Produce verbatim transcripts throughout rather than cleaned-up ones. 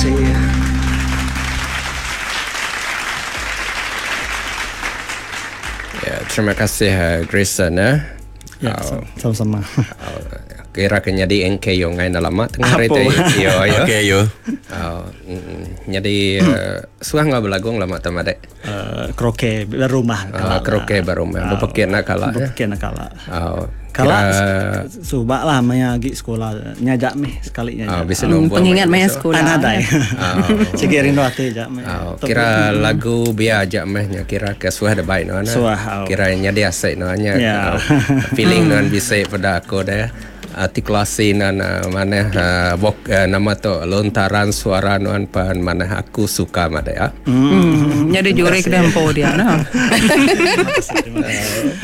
kasih. Ya, terima kasih uh, Grayson ya. Ya, Oh, sama-sama. oh, kira ke nyadi N K yo ngai lama tengah hari Apa? tu. Yo yo. Okey yo. Oh, mm, nyadi uh, suah ngau belagung lama tu madek. Uh, kroke berumah Uh, kroke berumah. Berpekit nak kalah ya. Berpekit nak kalah. Oh, Kalah kira subak lah maya lagi sekolah nyajak meh sekali nyajak. oh, bisa Hmm, nombor pengingat meh maya besok. sekolah. Ah, nadai. Oh. Sigi rindu hati jak meh. Oh, kira lagu biar ajak meh nya kira ke suah ada baik no. Suah, oh. Kira nya dia asik no nya. Ya. Oh, feeling non bisa pada aku dah. Artikulasi nan uh, mana uh, vok, uh, nama tu lontaran suara nuan pan mana aku suka mada ya. Hmm, nyadi juri ke dempo dia no.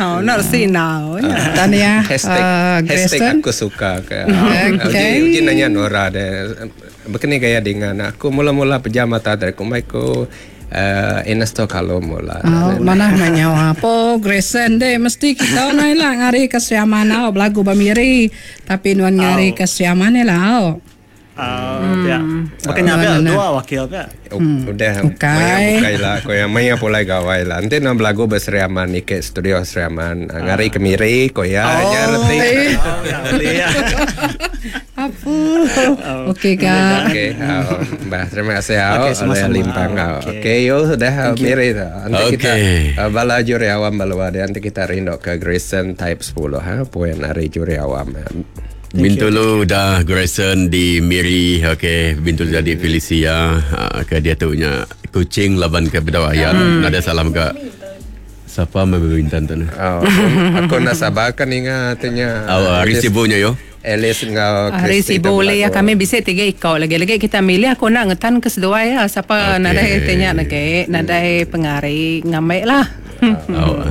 Oh, nak si now. Ya. Tania Hashtag uh, hashtag Grayson. aku suka ke. Okay. Uji, uji nanya Nora deh. Begini gaya dengan aku mula-mula pejam mata dari kumaiku uh, Ernesto kalau mula. Oh, mana nanya apa Grayson deh mesti kita nai lah ngari ke Siaman oh belagu bamiri tapi nuan ngari ke Siaman lah oh. Ah, pia. Makanya pia dua wakil pia. Udah Bukai. maya bukai lah kau yang maya pulai gawai lah. Nanti nak belagu berseriaman ni ke studio Seriaman ngari ke Miri kau ya nya reti. Oh, ya, boleh ya. Apa? Okey kak. Okey, oh, bah terima kasih oh, Okey, sama-sama. oleh Limpang. Oh. Okey. Okey, yo sudah Miri tu. Nanti kita Okey. uh, bala juri awam balua dia nanti kita rindu ke Grayson Type sepuluh ha poin hari juri awam. Bintulu dah Grayson di Miri, okey, Bintulu jadi Felicia, ha, ke dia tu nya kucing laban ke bedawayan. Hmm. Ada salam ke siapa membintan tu ni? Oh, aku nak sabar kan ingat tanya. Oh, hari sibunya yo. Alice ngau Hari Christy sibuk tu le ya belagu. kami bisa tiga ikau lagi lagi kita milih aku nak ngetan ke seduai ya siapa Okey. nadai tanya nak nadai pengari ngamek lah. Oh.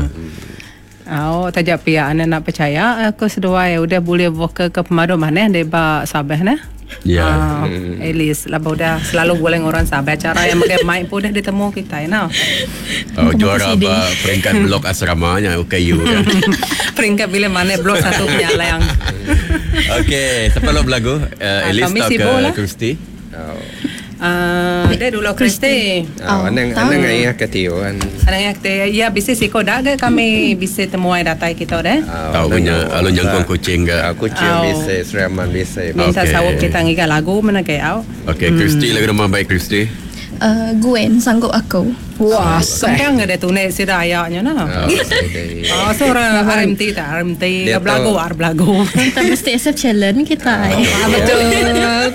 Oh, tajak pihak anda nak percaya aku seduai udah boleh vokal ke pemadu mana dia ba sabah nah. Ya. Ah, Alice lah udah selalu boleh orang sabah cara yang pakai mic pun dah ditemu kita ya nah. Oh, juara ba peringkat blok asramanya U K U kan. Peringkat bila mana blok satu penyalang. Okey, siapa lo belagu? Uh, Alice kami atau ke sibuk lah. Christy? Oh. Ah, dia dulu Christy. Oh, anang anang ayah ke tio kan. Anang yang kita ya bisa siko dah ke kami bisa temuai datai kita dah. Tahu punya alun jangkung kucing ke. Ah, kucing Oh. bisa, Seriaman bisa. Minta Okey. sawab kita ngiga lagu mana ke au. Okey, Christy lagi nama baik Christy. Uh, Gwen sanggup aku. Wah, Sekarang ada tunik sida ayaknya nah. Oh, saya Oh, seorang R M T tak R M T Dia tu- belagu ar belagu. Kita mesti accept challenge kita. eh. Ah, betul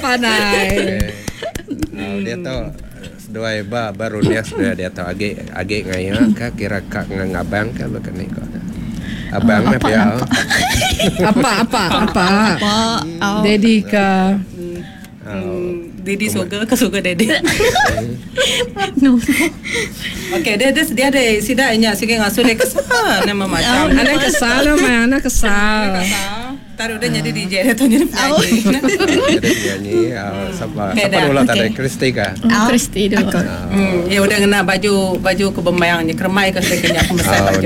pandai. Oh, dia tahu seduai ba baru dia sudah dia tahu agi agi ngaya ka kira kak ngabang ka bukan ni ko. Abang mah apa, pia. Apa apa apa. Apa? Oh. Daddy ke Oh. Didi suka ke suka Daddy. No. Okey, dia dia dia ada sida nya sikit ngasu dia kesal nama macam. Anak kesal lah, mah, anak kesal. Taruh dia jadi D J dia tu jadi penyanyi. Jadi penyanyi oh, siapa Okey, siapa dah. dulu tadi Okey. Christy ka? Oh. Christy dulu. Hmm, ya udah kena baju baju kebemayangnya kermai ke saya kena Oh, baju.